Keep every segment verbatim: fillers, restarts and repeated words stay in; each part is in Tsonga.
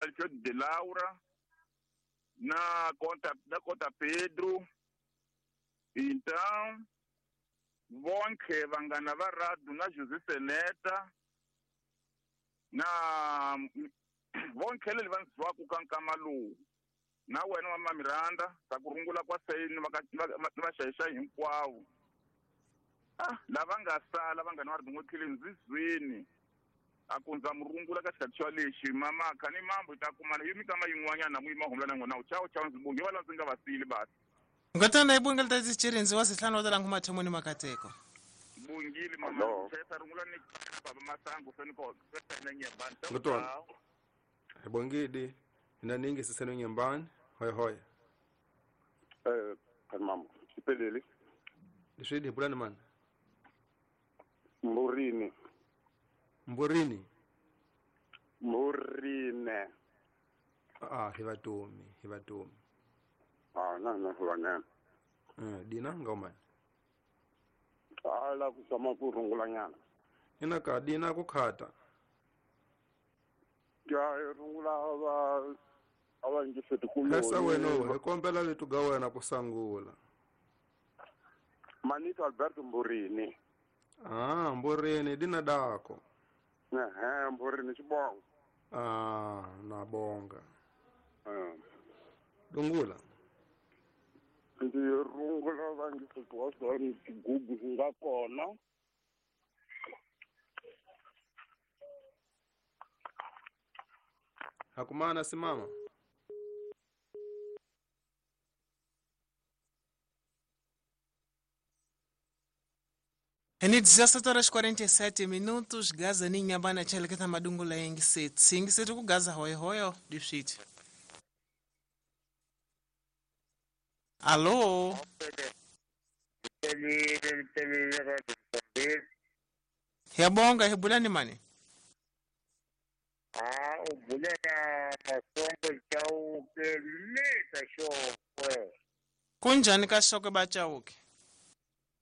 Alfredo de Laura na conta na conta Pedro. Então bonke vangana va Radu na José Seneta na bonke leli va ndziwaku ka nkama lowu na wena mama Miranda ta ku rungula kwa sayini va xayixa hinkwavo. Ah, lava nga sala va nga na ri n'wi ndzizweni a ku ndza murungula ka xikhathi xa lexi mama kha ni mambo ta kumana yi mikama yin'wanyana mu yima humla na n'wina chawo chawo ndzi bonge va la ndzi nga va sili basi. Ngatana ibungela ta tsichirinzi wa sihlanu wa talangu mathomoni makateko. Bungile mama tsa rungula ni baba masango feni ko fena nyembani. Ngutwana. Ibongidi ina ningi siseno nyembani hoy hoy. Eh mama sipelele. Leswi bulani man. Mburini. Mburini. Mburine. Ah, hivatumi, hivatumi. Ah, na na huwana. Eh, dina ngoma. Ala kusama kurungula nyana. Ina ka dina kukhata. Ya rungula ava ava ngifete kulo. Kasa wena hi kombela letu ga wena kusangula. Manito Alberto Mburini. Ah, Mburini dina dako. Eh, Mburini xibongo. Ah, na bonga. Eh. Dungula. Ndzi rungula va ngifete wa swona xigugu xi nga kona. Hakumana simama. Eni dezessete horas e quarenta e sete minutos, Gaza ninha bana cheleketa madungula yengi seti. Yengi seti ku Gaza hoi hoi difiti. Alô? Yabonga hebulani mani? Ah, ubulena masongo chauke leta shokwe. Kunjani ka shokwe ba chauke?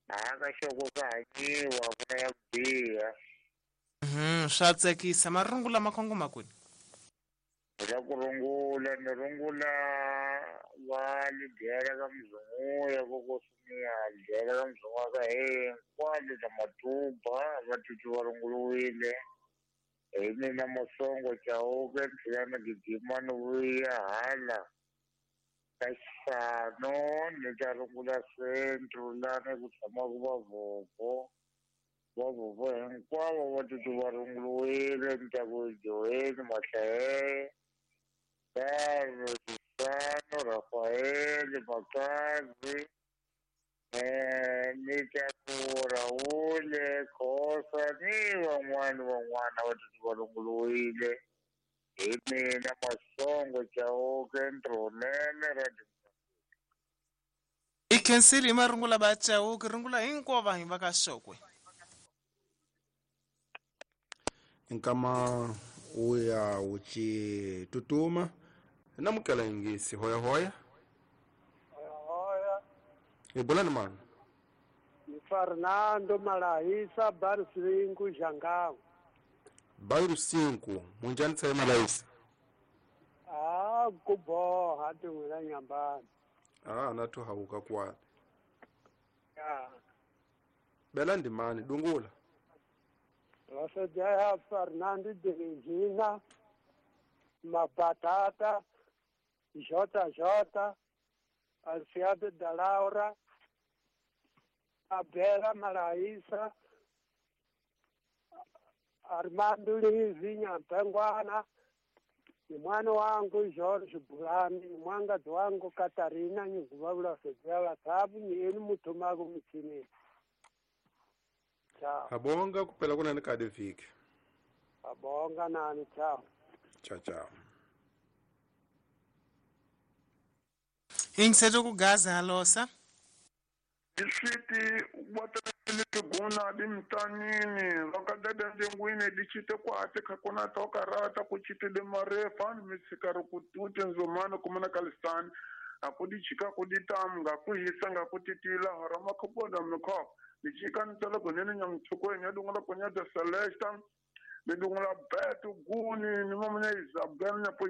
Ah, ka shokwe ka hanyiwa kuna ya kubiha. Mhm, swa tsakisa marungula makhongo makuni. La kurungula ni rungula va lidera ka mzungu ya kokosumia lidera ka mzungu ka hinkwalo ta matuba va titwi va runguluwile. Hi mina masongo chauke tlhela ni gijima ni vuya hala ka xisano ni ta rungula centro lani ku tshamaka vavhovho vavhovho hinkwavo va titwi va runguluwile ni ta ku Joeni Mahlahele Carlos Xisano Rafael Makazi eh ni ta ku Raul Khosa ni van'wana van'wana va titwi va runguluwile. Hi mina masongo chauke ntirhonene ra I khensile hi marungula va chauke rungula hinkwavo vanhu va ka shokwe. Nkama uya uchi tutuma namukela ingisi hoya hoya. Hoya hoya. Ibulani man. Ni Fernando Malaisa Barcinco Jangao. Bairro cinco, munjani tsaye Malaisa. Ah, kubo hati ngula nyambani. Ah, natu hauka kwa. Ya. Bela ndimani dungula. Vasajaya Fernando de Regina, Mabatata, J J, Alciado da Laura, Abela Malaisa, Armando Lizinha Mpengwana, ni mwana wangu George Bulani, ni mwangazi wangu Katarina nyiguvavula sejala sabu ni eni mutumaku mitini. Ciao. Abonga kupela kuna nikade viki. Abonga nani ciao. Ciao ciao. Ingiseto ku Gaza halosa. Isiti watalete guna dimtanini vakadada ndengwini dichite kwate kakuna toka rata kuchite de marefa misikaro kutute nzomano kumana kalistani akudichika kuditamga kuhisanga kutitila harama kaboda mko dichika ntala kunene nyamchukwe nyadungala kunya de Celesta Ni dungula beto guni ni mamanya Isabel na po